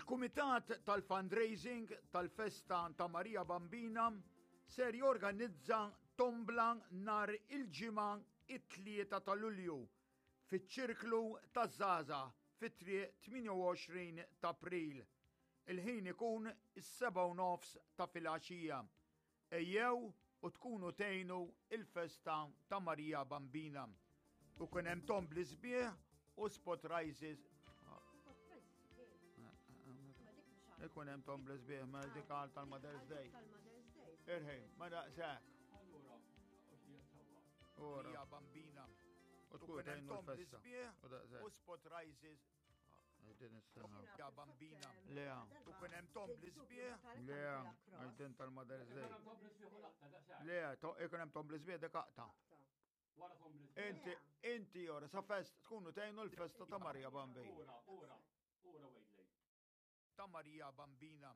Il-Kumitat tal-Fundraising tal-Festa ta' Marija Bambina ser jorganizza tombla nhar il-Ġimgħa it-3 ta' Lulju fiċ-Ċirklu taż-Żgħażagħ fi Triq 28 ta' April. Il-ħin ikun is-sebgħa u nofs ta' filgħaxija. Ejjew u tkunu tgħinu il-festa ta' Marija Bambina. U kun hemm tombli sbieħ u spot rises. Ikun hemm tombli sbieħ ma dik għal tal-Mother's Day. Irħi, ma daqshekk. Marija Bambina. U tkun tgħinu l-festa. U spot rises Din is-sena. Ja bambina. Lea. U kien hemm tom bl-isbieħ. Lea, għax din tal-Mother's Day. Lea, ikun hemm tom bl-isbieħ dik aqta. Inti, inti ora, sa fest, tkunu tgħinu l-festa ta' Marija Bambina. Ora, ora, ora, wait, Ta' Marija Bambina.